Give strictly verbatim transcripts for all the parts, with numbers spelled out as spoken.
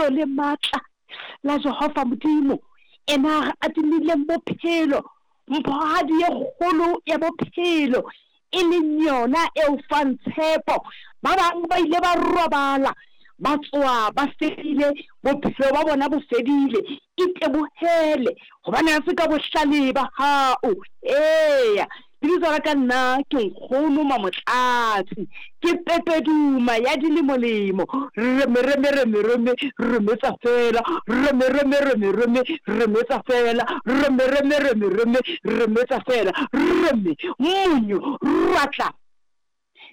Lebitso le matla la Jehova Modimo, ena a re adimileng bophelo, mphohadi ye kgolo ya bophelo, e leng yona e o fang tshepo. Ba bang ba ile ba robala, ba tsoha ba fedile, bophelo ba bona bo fedile. Itebohele, hobane ha se ka bohlale ba hao. Eya, lebitso la ka nna ke Nkgono Mamotlatsi, ke Pepeduma ya dilemolemo. Reme reme reme reme, remetsa fela, reme reme reme reme, remetsa fela, reme reme reme reme, remetsa fela, reme, monyo, rwatla.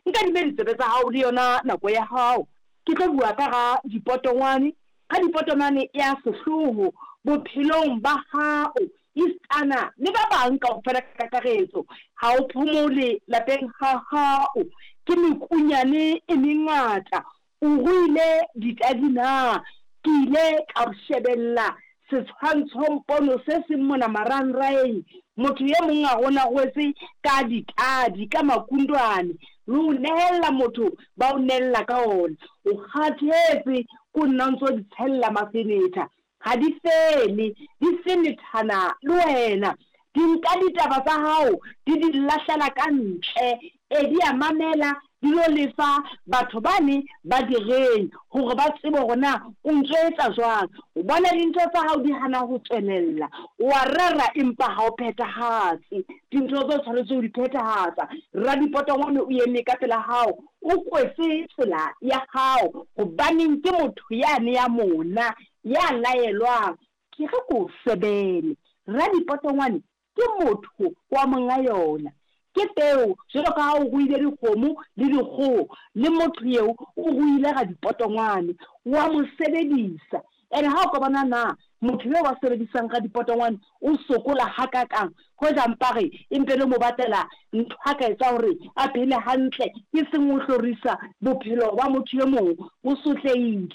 Nkadime ditsebe tsa hao le yona nako ya hao. Ke tlo bua ka ga dipotongwane, ga dipotongwane ya sehloho bophelong ba hao, esitana le ba bang kaofela ka kakaretso. Ha o phomole lapeng ha hao, ke mekunyane e mengata. O ruile ditadi na? Ke ile ka shebella setshwantshompono se seng mona marangrang. Motho e mong a rona rwetse ka ditadi, ka makundwane, le ho nehella motho ba o nehella ka ona. O kgathetse ko nna o ntso di tshella mafenetha, ha di fele, di fenethana le wena. Di nka ditaba tsa hao, di di lahlela ka ntle. E, di a mamela, di lo lefa batho bane ba direng hore ba tsebe hore na o ntso etsa jwang. O bona dintho tsa hao di hana ho tswelella, o a rera empa ha o phethahatse dintho tse o tshwanetse ho di phethahatsa. Radipotongwane o eme ka pela hao, o kwetse tsela ya hao, hobaneng ke motho yane ya mona, ya laelwang. Ke re ko sebele, radipotongwane ke motho wa monga yona. Ke peo, jwalo ka ha o ruile dikgomo le dikgoho, le motho eo o ruile radipotongwane, wa mo sebedisa. Ene ha o ka bona na motho eo wa sebedisang radipotongwane o sokola hakakang, hoja mpa re empe le mo batlela ntho a ka etsa hore a phele hantle, e seng ho hlorisa bophelo ba motho e mong. O sotlehile.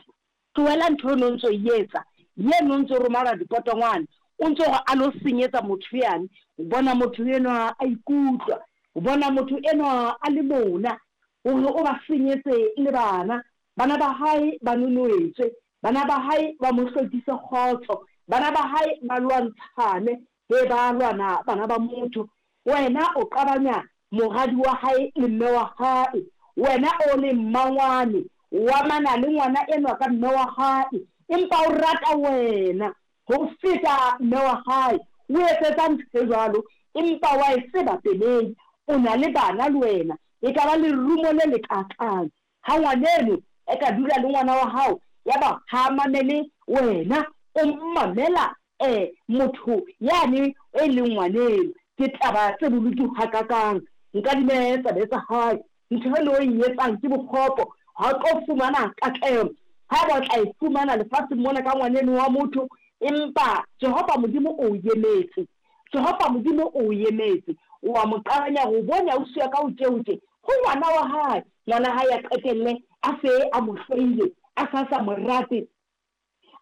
Tlohela ntho eno o ntso e etsa, yeno o ntso roma radipotongwane, o ntso hore a lo senyetsa motho yane. O bona motho enwa a ikutlwa, o bona motho enwa a le mona hore o ba senyetse le bana. Bana ba hae ba nonoetswe, bana ba hae ba mo hlokise kgotso, bana ba hae ba lwantshane, he ba lwana bana ba motho. Wena o qabanya moradi wa hae le mme wa hae, wena o le mmangwane, wa mana le ngwana enwa ka mme wa hae, empa o rata wena ho feta mme wa hae. O etsetsa ntho e jwalo, empa wa e tseba peleng, o na le bana le wena. E ka ba lerumo le lekakang ha ngwaneno e ka dula le ngwana wa hao, ya ba ha mamele wena, o mamela eh motho yane e leng ngwaneno. Ke taba tse bolutu hakakang. Nkadime tsebe tsa hae, ntho e le o e etsang ke bokgopo, ha o tlo fumana katleho. Ha ba tla e fumana lefatsheng mona ka ngwaneno wa motho, empa Jehova Modimo o emetse. Jehova Modimo o emetse. O a mo qabanya ho bona o siya ka o tje ho ngwana wa hae. Ngwana hae a qetelle a se a mo hloile, a sa sa mo rate,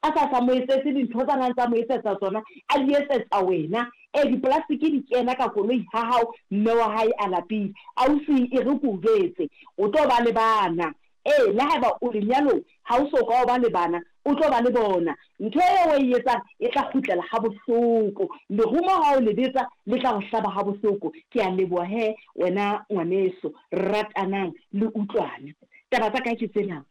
a sa sa mo etsetse dintho tsa nang tsa mo etsetsa tsona, a di etsetsa wena. E diplastiki di kena ka koloi ha hao, mme wa hae a lapile. Ausi e re ko jwetse, o tlo ba le bana. E le haeba o lenyalong, ha o so ka o ba le bana, o tlo ba le bona. Ntho eo o e etsang e tla kgutlela ha bohloko. Lerumo ha o le betsa le tla o hlaba ha bohloko. Ke a leboha he wena ngwaneso, ratanang le utlwane. Taba tsa ka ke tsena.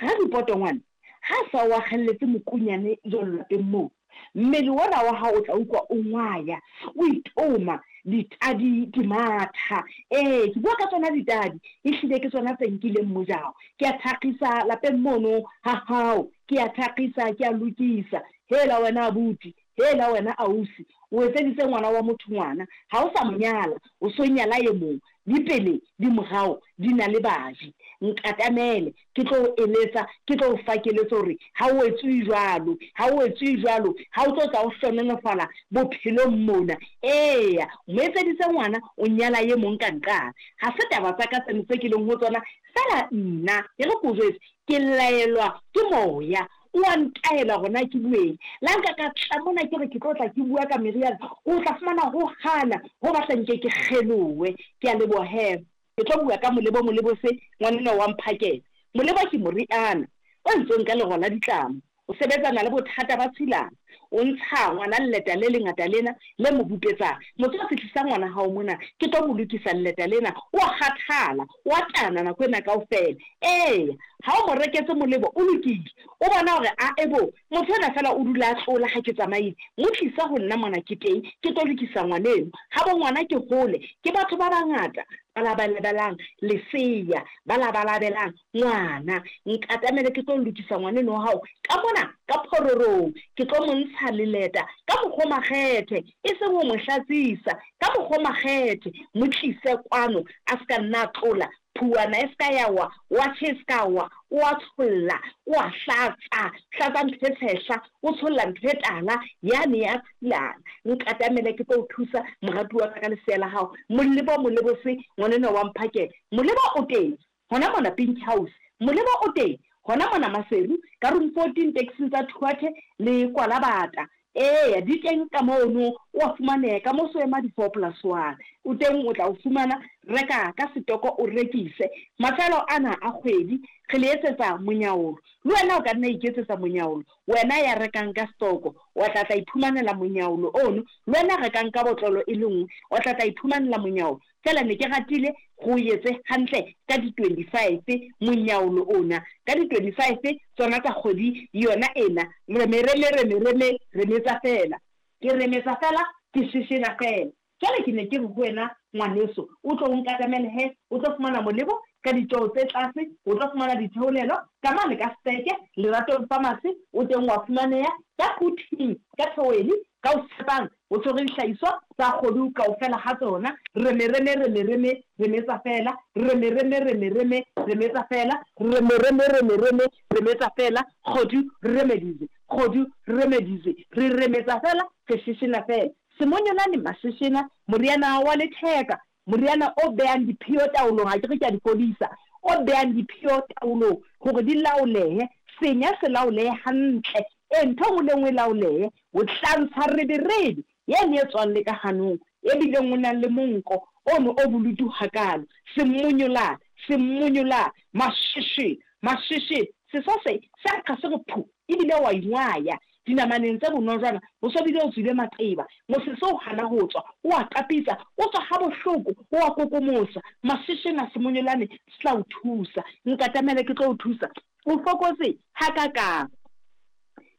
Radipotongwane ha sa o akgelletse mokunyane jwalo lapeng moo, mmele ona wa hao o tla utlwa o ngwaya, o itoma, ditadi di matha. Ee, ke bua ka tsona ditadi, ehlile ke tsona tse nkileng mojao. Ke a thakgisa lapeng mono ha hao, ke a thakgisa, ke a lokisa. Hela wena abuti, hela wena ausi, o etseditse ngwana wa motho ngwana, ha o sa mo nyala, o so nyala e mong. Di pele, di morao, di na le baji. Nkatamele, ke tlo eletsa, ke tlo fa keletso hore ha o etswe jwalo, ha o etswe jwalo, ha o tlo tla o hlononofala bophelong mona. Eya, mo etseditse ngwana, o nyala e mong ka nqane. Ha se taba tsa ka tseno tse ke leng ho tsona, fela nna e re ko jwetse, ke laelwa ke moya. O a ntaela hore na ke bueng. La nka ka tla mona ke re ke tlo tla ke bua ka meriana, o tla fumana ho hana, ho batla nke ke kgelowe. Ke a leboha he. Ke tlo bua ka molebo, molebo se ngwaneno wa mphakela. Molebo ke moriana o entsweng ka lero la ditlamo, O sebetsana le bothata ba tshilana. O ntsha ngwana leleta le lengata lena le mo bupetsang. Motswatsi tlisa ngwana hao mona, ke tlo mo lokisa leleta lena. O a kgathala, o a tana nako ena kaofela. Eya, ha o mo reketse molebo o lokile. O bona hore ae bo, motho enwa feela o dula a tlola ha ke tsamaile. Mo tlisa ho nna mona ke teng, ke tlo lokisa ngwaneno. Habo ngwana ke hole, ke batho ba bangata ba labalabelang lesea, ba labalabelang ngwana. Nkatamele ke tlo lokisa ngwaneno wa hao ka mona ka phororong. Ke tlo mo ntsha leleta ka mokgwa o makgethe, e seng ho mo hlatsisa ka mokgwa o makgethe. Mo tlise kwano a se ka nna a tlola, phuwana e se ka ya wa, watjhe e se ka wa. O a tsholla, o a hlatsa, hlatsa ntho e tshehla, o tsholla ntho e tala, yane ya tshilana. Nkatamele ke tlo o thusa, moratuwa wa ka, ka lesea la hao. Molebo molebose, ngwanenwa wa mphakela. Molebo o teng hona mona Pink House. Molebo o teng hona mona Maseru, ka room fourteen taxing tsa Thuathe le Kwalabata. Eya, di teng ka mono, o a fumaneha ka mo so ema di four plus one. O teng o tla o fumana, reka ka setoko o rekise. Mafelo ana a kgwedi re le etsetsa monyaolo. Le wena o ka nna iketsetsa monyaolo. Wena ya rekang ka setoko, wa tla tla iphumanela monyaolo ono. Le wena rekang ka botlolo e le nngwe, o tla tla iphumanela monyaolo. Feela ne ke ratile go etse hantle ka di twenty-five monyaolo ona. Ka di twenty-five tsona tsa kgwedi yona ena. Reme reme reme reme remetsa fela. Ke remetsa fela, ke sheshena fela. Jwale ke ne ke re ho wena ngwaneso, o tlo nkatamele he, o tlo fumana molebo ka ditjeo tse tlase, o tlo fumana ditheolelo ka mane ka Steke, Leratong Pharmacy, o teng wa fumaneha ka Quthing, ka Thoweli, ka o tshepang, o tshwere dihlahiswa tsa kgodu kaofela ha tsona. Reme reme reme reme remetsa fela, reme reme reme reme remetsa fela, reme reme reme reme remetsa fela, kgodu remedize, kgodu remedize, re remetsa fela, re sheshena fela. Semonyolane masheshena, moriana wa letheka, moriana o behang diphio taolong, ha ke re ke a di fodisa, o behang diphio taolong hore di laolehe, senya se laolehe hantle, e ntho e nngwe le nngwe e laolehe. O tla ntsha reberebe yane e tswang le ka hanong, e bileng o nang le monko ono o bolutu hakalo. Semonyolane, semonyolane, masheshe, masheshe, seso se se nkga se re phu, ebile wa ingwaya dinamaneng tse bonojwana, o so bile o tswile maqeba, mosese o hana ho tswa, o a qapitsa, o tswa ha bohloko, o a kokomosa. Masheshena semonyolane se tla o thusa. Nkatamele ke tlo o thusa. O fokotse hakakang.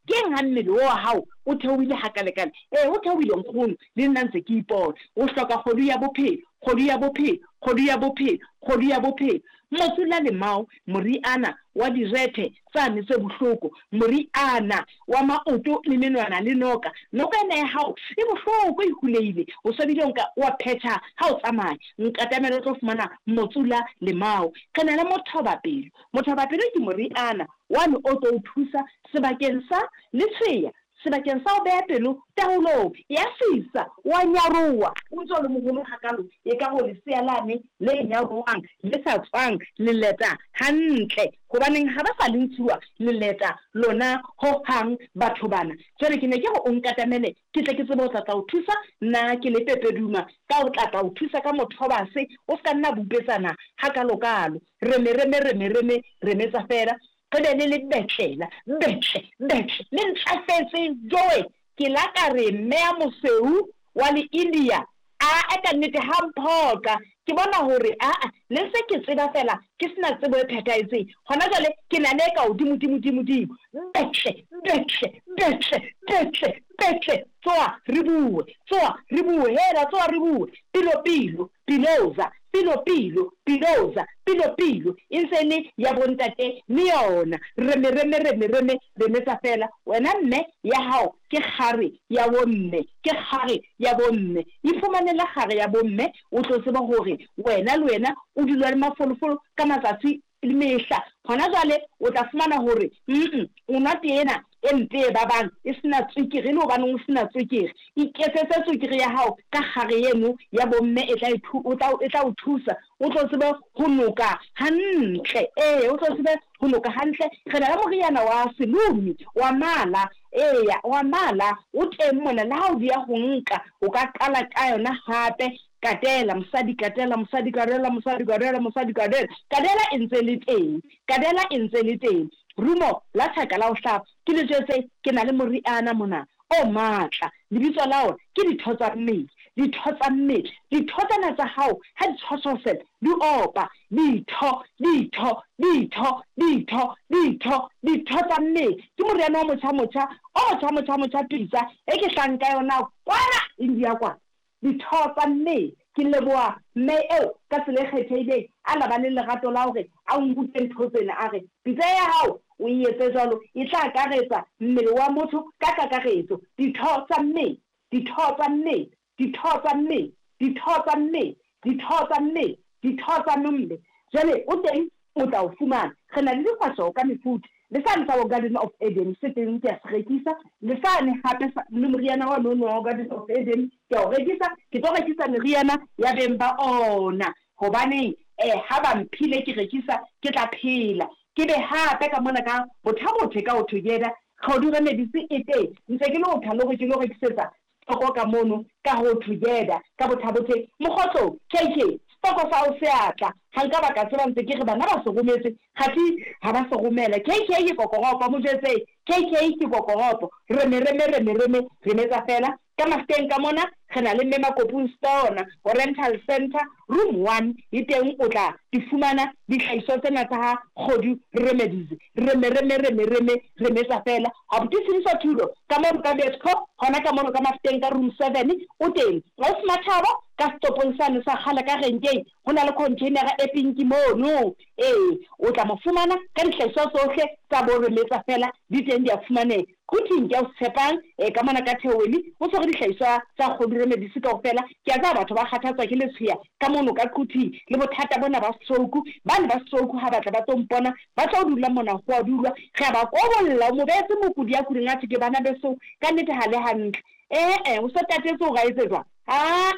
Keng ha mmele wa hao o theohile hakalekale? Eh, o theohile nkgono, le nna ntse ke ipona. O hloka kgodu ya bophelo, kgodu ya bophelo, kgodu ya bophelo, kgodu ya bophelo. Motsula lemao, moriana wa direthe tsane tse bohloko, moriana wa maoto le menwana le noka. Noka ena ya hao e bohloko, e huleile, o so bile nka wa phetha ha o tsamaya. Nkatamele o tlo fumana motsula lemao. Re na le mothobapelo. Mothobapelo ke moriana wane o tlo o thusa sebakeng sa letshweya, sebakeng sa ho beha pelo taolong ya sisa, wa nyaroha, o ntso le moholo hakalo, e ka ho lesea lane le nyarohang le sa tswang leleta hantle, hobaneng ha ba sa le ntshuwa leleta lona hohang batho bana. Jwale ke ne ke re o nkatamele ke tle ke tsebe ho tla tla o thusa, nna ke le Pepeduma ka o tla tla o thusa ka mothobase, o ska nna bupetsana hakalokalo. Reme reme reme reme remetsa fela, re be le le betlela, betle, betle, le ntlafetse joe. Ke la ka re mme ya mosweu wa le India, a ka nnete ha mphoqa. Ke bona hore aa le se ke tseba fela, ke sena tsebo e phethahetseng. Hona jwale ke na le ka hodimo dimo dimo dimo. Betle, betle, betle, betle, betle. Tsoa re bue, tsoa re bue, hela tsoa re bue. Pilo pilo, piloza, pilo pilo, piloza, pilo pilo. E ntse le ya bontate le yona. Reme reme reme reme remetsa fela. Wena mme ya hao ke kgare ya bomme, ke kgare ya bomme. Iphumanele kgare ya bomme, o tlo tseba hore wena le wena o dula le mafolofolo ka matsatsi le mehla. Hona jwale o tla fumana hore mm o nwa tee ena e mpe e babang, e sena tswekere, le hobaneng o sena tswekere. Iketsetse tswekere ya hao ka kgare eno ya bomme, e tla o tla e tla o thusa, o tlo tsebe ho noka hantle. Ee, o tlo tsebe ho noka hantle. Re na le moriana wa selumi wa mala, eya wa mala o teng mona. Le ha o dia ho nka, o ka qala ka yona hape. Katela mosadi, katela mosadi, katela mosadi, katela mosadi, katela. Kadela e ntse le teng, kadela e ntse le teng. Rumo la thaka la ho hlaba. Ke le jwetse ke na le moriana mona o matla. Lebitso la ona ke ditho tsa mmele. Ditho tsa mmele. Ditho tsena tsa hao ha di tshotshosela di opa. Ditho, ditho, ditho, ditho, ditho, ditho tsa mmele. Ke moriana o motjha motjha, o motjha motjha motjha pitsa e ke hlang ka yona kwana India kwana. Ditho tsa mmele. Ke leboha mme eo ka tsela e kgethehileng a la ba le lerato la hore a nrute ntho tsena a re pitsa ya hao o e etse jwalo e tla akaretsa mmele wa motho ka kakaretso. Ditho tsa mmele, ditho tsa mmele, ditho tsa mmele, ditho tsa mmele, ditho tsa mmele, ditho tsa mmele. Jwale o teng o tla o fumana. Re na le dikgwasho ka mefuta. Le sane sa bo Garden of Eden se teng ke a se rekisa. Le sane hape le moriana wa nono wa Garden of Eden ke a o rekisa. Ke tlo rekisa meriana ya beng ba ona. Hobaneng eh ha ba mphile ke rekisa ke tla phela. Ke be hape ka mona ka bothabothe ka ho together. Kgodu Remedies e teng. Ntse ke lo tha le hore ke lo rekisetsa stoko ka mono ka ho together ka bothabothe. Mokgotso K K stoko sa o seatla. Ha nka ba ka tseba ntse ke re bana ba se rometse kgathi ha ba se romela. K K ke kokoropo mo jwetse. K K ke kokoropo. Reme reme reme reme remetsa fela. Ka Mafikeng ka mona re na le mme Makopung Store Oriental Center room one e teng o tla di fumana dihlahiswa tsena tsa ha Kgodu Remedies. Reme reme reme reme remetsa fela. Abuti Tshediso Thulo ka mono ka Betco hona ka mono ka Mafikeng ka room seven o teng. Ausi Mathabo ka setopong sane sa kgale ka renkeng ho na le containera e pinki mono. Ee, o tla mo fumana ka dihlahiswa tsohle tsa bo remetsa fela di teng di a fumaneha. Quthing ke a o tshepang e ka mona ka Theoweli o tshwere dihlahiswa tsa Kgodu Remedies kaofela. Ke a tseba batho ba kgathatswa ke letshweya ka mono ka Quthing le bothata bona ba stroke. Bane ba stroke ha batla ba tlo mpona ba tlo dula mona ho a dulwa. Re a ba kobolla o mo beetse mokudi ya kuding a thwe ke bana beso ka nnete ha le hantle. Eh eh o so tatetse hore a etse jwang? Ah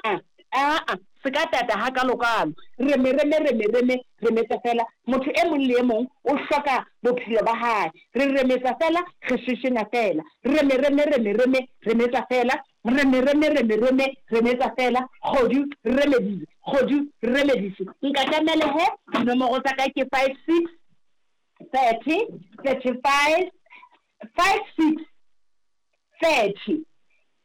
ah ah se ka tata ha kalokalo. Reme reme reme reme remetsa fela. Motho e mong le e mong o hloka bophelo ba hae. Re remetsa fela, re sheshena fela. Reme reme reme reme remetsa fela. Reme reme reme reme remetsa fela. Kgodu Remedies, Kgodu Remedies. Nkatamele he dinomoro tsa ka ke five six thirty thirty five five six thirty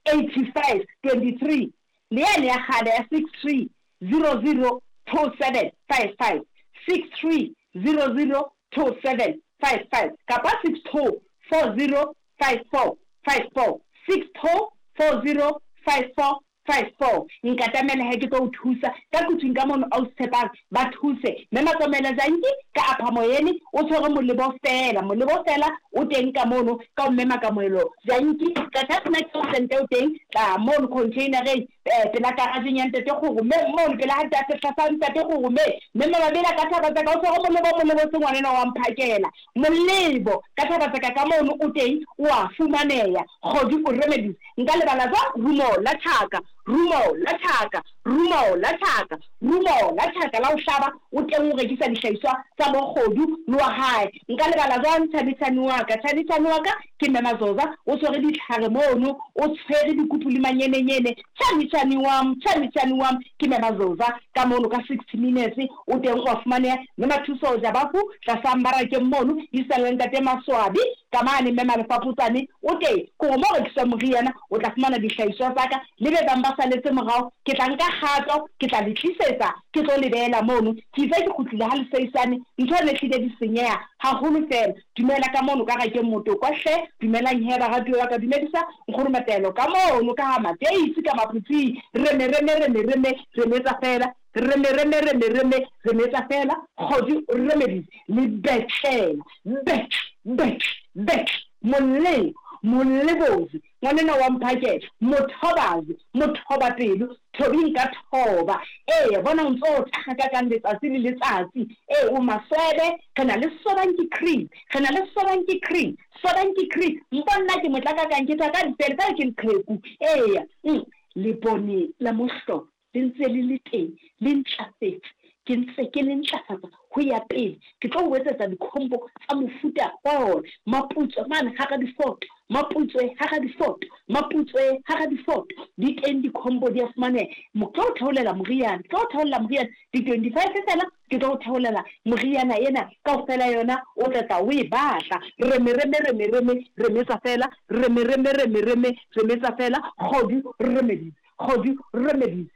eighty five twenty three. Le yane ya kgale ya six three zero zero two seven five five six three zero zero two seven five five kapa six two four zero five four five four six two four zero five four five four. Nkatamele he ke tlo o thusa ka kutswing ka mono a o tshepang ba thuse. Mme Matsomela Janki ka apha moyeni o tshwere molebo fela, molebo fela o teng ka mono ka mme Makamoelo Janki ka tsena ke sente o teng tla mono containereng pela garageng ya ntate Kgoro mme mono pela ha ntate tlasa ntate Kgoro mme mme Mabela ka thaba tsa ka o tshwere molebo molebo se ngwanena wa mphakela molebo ka thaba tsa ka ka mono o teng o a fumaneha. Kgodu Remedies. Nka lebala jwang rumo la thaka, rumo la thaka, rumo la thaka, rumo la thaka la ho hlaba o teng o rekisa dihlahiswa tsa bo Kgodu le wa hae. Nka lebala jwang Thabisane wa ka? Thabisane wa ka ke mme Mazoza o tshwere ditlhare mono, o tshwere dikupu le manyenenyene. Thabisane wa Thabisane wa ke mme Mazoza ka mono ka sixty minutes o teng o a fumaneha. Mme Mathuso Jabafu tlasa mmarakeng mono isang ntate Maswabi ka mane mme Malefapotsane o teng ko mo rekisa moriana o tla fumana dihlahiswa tsa ka le be bang ba saletse morao. Ke tla nka kgato, ke tla le tlisetsa, ke tlo le beela mono. Ke itse ke kgutlile ha leseisane ntho ne hlile di senyeha haholo fela. Dumela ka mono ka rakeng motokwa hle. Dumelang he baratuwa ba ka, dumedisa nkgono Matelo ka mono ka ha Mateisi ka Maphutsing. Reme reme reme reme remetsa fela. Reme reme reme reme remetsa fela. Kgodu Remedies le betlela bet bet bet molle molebozi ngwanena wa mphakela mothobazi mothoba pelo thobing ka thoba. Ee bona o ntso o taga ka kang letsatsi le letsatsi. Ee o maswebe re na le sobanki cream, re na le sobanki cream, sobanki cream. Mponna ke motlaka kang ke tla ka dipele ka ke leqheku. Ee lebone la mohlolo le ntse le le teng le ntlafetse. Ke ntse ke le ntlafatsa ho ya pele. Ke tlo o etsetsa dikhombo tsa mofuta wa ona. Maputswe mane hara difoto, maputswe hara difoto, maputswe hara difoto. Di teng dikhombo di a fumaneha. Ke tlo o theolela moriana, ke tlo o theolela moriana di twenty-five feela, ke tlo o theolela moriana ena kaofela yona o tla tla o e batla. Reme reme reme reme remetsa feela, reme reme reme reme remetsa feela, kgodu remedies, kgodu remedies.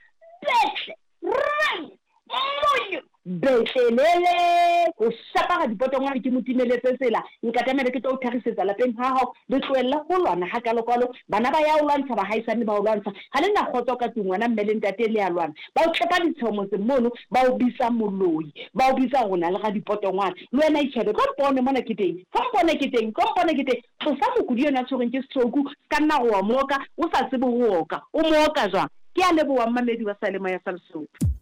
Betle, reme, monyo, betlelele, ho shapara dipotongwane ke mo timeletse tsela, nkatamele ke tlo o thagisetsa lapeng ha hao, le tlohelle ho lwana hakalokalo, bana ba ya o lwantsha, bahaisane ba o lwantsha, ha le na kgotso ka tlung, wena mme le ntate le a lwana, ba o tlepa ditsheho motseng mono, ba o bitsa moloi, ba o bitsa hore o na le radipotongwane, le wena itjhebe, tlo mpone mona ke teng, tlo mpone ke teng, tlo mpone ke teng, tlosa mokudi enwa a tshwerweng ke stroke, ska nna re wa mooka, o sa tsebe ho oka, o mooka jwang? Ke a leboha mmamedi wa Seyalemoya sa Lesotho.